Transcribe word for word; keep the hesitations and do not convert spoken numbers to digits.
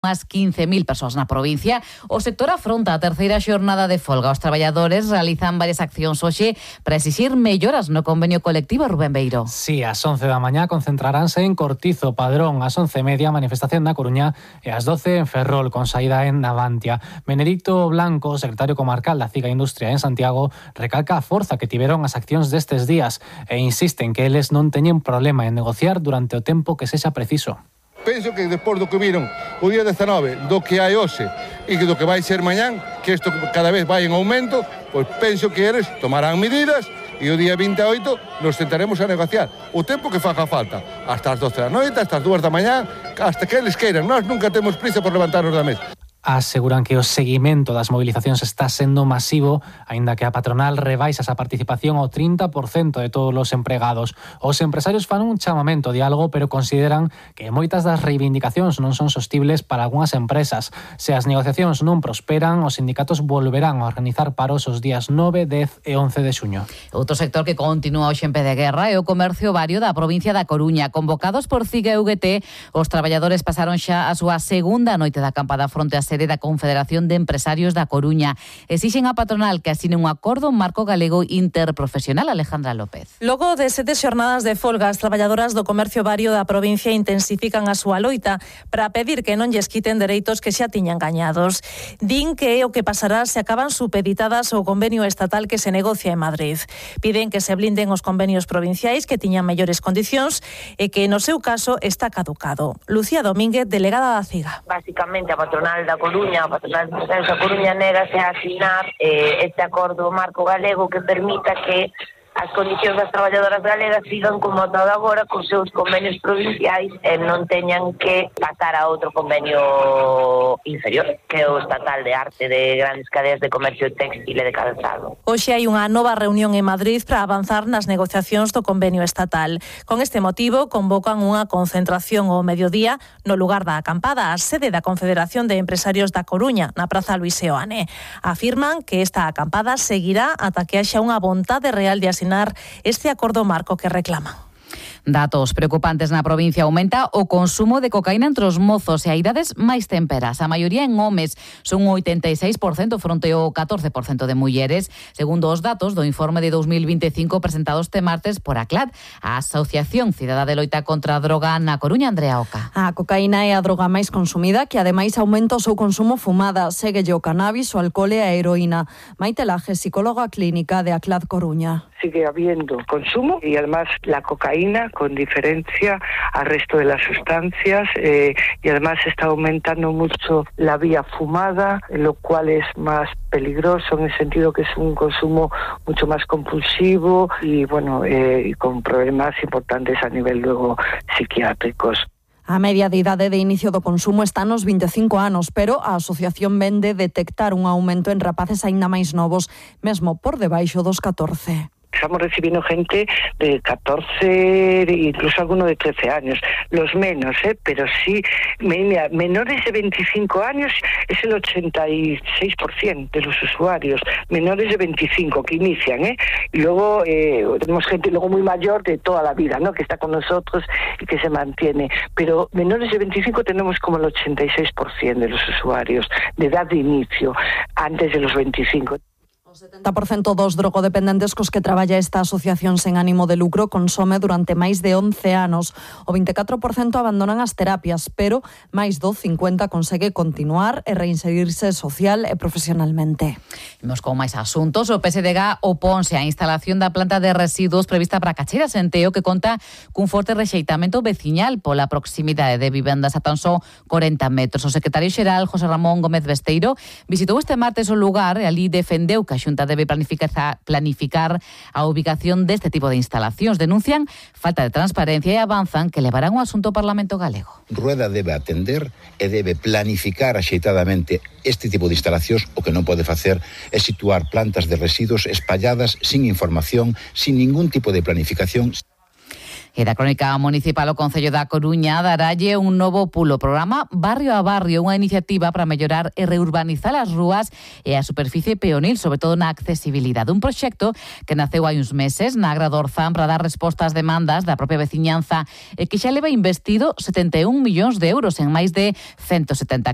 As quince mil persoas na provincia. O sector afronta a terceira xornada de folga. Os traballadores realizan varias accións hoxe para exixir melloras no convenio colectivo. Rubén Beiro. Sí, ás once da mañá concentraránse en Cortizo, Padrón, ás once e media manifestación na Coruña e ás doce en Ferrol, con saída en Navantia. Benedicto Blanco, secretario comarcal da Ciga Industria en Santiago, recalca a forza que tiveron as accións destes días e insiste en que eles non teñen problema en negociar durante o tempo que sexa preciso. Penso que despois do que viron o día dezanove, do que hai hoxe e do que vai ser mañán, que isto cada vez vai en aumento, pois penso que eles tomarán medidas e o día vinte e oito nos sentaremos a negociar o tempo que faga falta, hasta as doce da noite, hasta as dúas da mañá, hasta que eles queiran. Nós nunca temos prisa por levantarnos da mesa. Aseguran que o seguimento das movilizacións está sendo masivo, aínda que a patronal rebaixa esa participación ao trinta por cento de todos os empregados. Os empresarios fan un chamamento ao diálogo, pero consideran que moitas das reivindicacións non son sostibles para algunhas empresas. Se as negociacións non prosperan, os sindicatos volverán a organizar paros os días nove, dez e once de xuño. Outro sector que continúa hoxe en pé de guerra é o comercio vario da provincia da Coruña. Convocados por Ciga e U G T, os traballadores pasaron xa a súa segunda noite de acampada fronte a sede da Confederación de Empresarios da Coruña. Exixen a patronal que asine un acordo marco galego interprofesional. Alejandra López. Logo de sete xornadas de folga, as traballadoras do comercio vario da provincia intensifican a súa loita para pedir que non lles quiten dereitos que xa tiñan gañados. Din que é o que pasará se acaban supeditadas ao convenio estatal que se negocia en Madrid. Piden que se blinden os convenios provinciais que tiñan mellores condicións e que no seu caso está caducado. Lucía Domínguez, delegada da Ciga. Básicamente a patronal da Coruña, a patronal de empresarios da Coruña negase a asinar eh, este acordo marco galego que permita que as condicións das traballadoras galegas sigan como ata agora cos seus convenios provinciais e non teñan que pasar a outro convenio inferior, que é o estatal de arte de grandes cadeas de comercio textil e de calzado. Hoxe hai unha nova reunión en Madrid para avanzar nas negociacións do convenio estatal. Con este motivo, convocan unha concentración ao mediodía no lugar da acampada, a sede da Confederación de Empresarios da Coruña, na Praza Luis Seoane. Afirman que esta acampada seguirá ata que haxa unha vontade real de asinar este acordo marco que reclaman. Datos preocupantes na provincia. Aumenta o consumo de cocaína entre os mozos e a idades máis temperas. A maioría en homes, son un oitenta e seis por cento fronte ao catorce por cento de mulleres, segundo os datos do informe de dos mil vinte e cinco presentados este martes por a CLAD, a Asociación Cidadá de Loita contra a Droga na Coruña. Andrea Oca. A cocaína é a droga máis consumida, que ademais aumenta o seu consumo fumada. Séguelle o cannabis, o alcohol e a heroína. Maite Laje, psicóloga clínica de a CLAD Coruña. Sigue habiendo consumo y además la cocaína, con diferencia al resto de las sustancias, eh, y además está aumentando mucho la vía fumada, lo cual es más peligroso en el sentido que es un consumo mucho más compulsivo y bueno, eh, y con problemas importantes a nivel luego psiquiátricos. A media de idade de inicio do consumo está nos vinte e cinco anos, pero a asociación vende detectar un aumento en rapaces aínda máis novos, mesmo por debaixo dos catorce. Estamos recibiendo gente de catorce, incluso alguno de trece años, los menos, ¿eh? Pero sí, mira, menores de veinticinco años es el ochenta y seis por ciento de los usuarios, menores de veinticinco que inician, ¿eh? Y luego eh, tenemos gente luego muy mayor de toda la vida, ¿no? Que está con nosotros y que se mantiene, pero menores de veinticinco tenemos como el ochenta y seis por ciento de los usuarios de edad de inicio, antes de los veinticinco. O setenta por cento dos drogodependentes cos que traballa esta asociación sen ánimo de lucro consome durante máis de once anos. O vinte e catro por cento abandonan as terapias, pero máis do cincuenta por cento consegue continuar e reinserirse social e profesionalmente. Imos con máis asuntos. O P S D G oponse á instalación da planta de residuos prevista para Cacheira Senteo, que conta cun forte rexeitamento veciñal pola proximidade de vivendas a tan só corenta metros. O secretario xeral, José Ramón Gómez Besteiro, visitou este martes o lugar e ali defendeu que a Xunta debe planificar, planificar a ubicación deste tipo de instalacións. Denuncian falta de transparencia e avanzan que levarán o asunto ao Parlamento galego. Rueda debe atender e debe planificar axeitadamente este tipo de instalacións. O que non pode facer é situar plantas de residuos espalladas sin información, sin ningún tipo de planificación. E da Crónica Municipal, o Concello da Coruña daralle un novo pulo, programa Barrio a Barrio, unha iniciativa para mellorar e reurbanizar as rúas e a superficie peonil, sobre todo na accesibilidade. Un proxecto que naceu hai uns meses na Agra do Orzán para dar resposta ás demandas da propia veciñanza e que xa leva investido setenta e un millóns de euros en máis de ciento setenta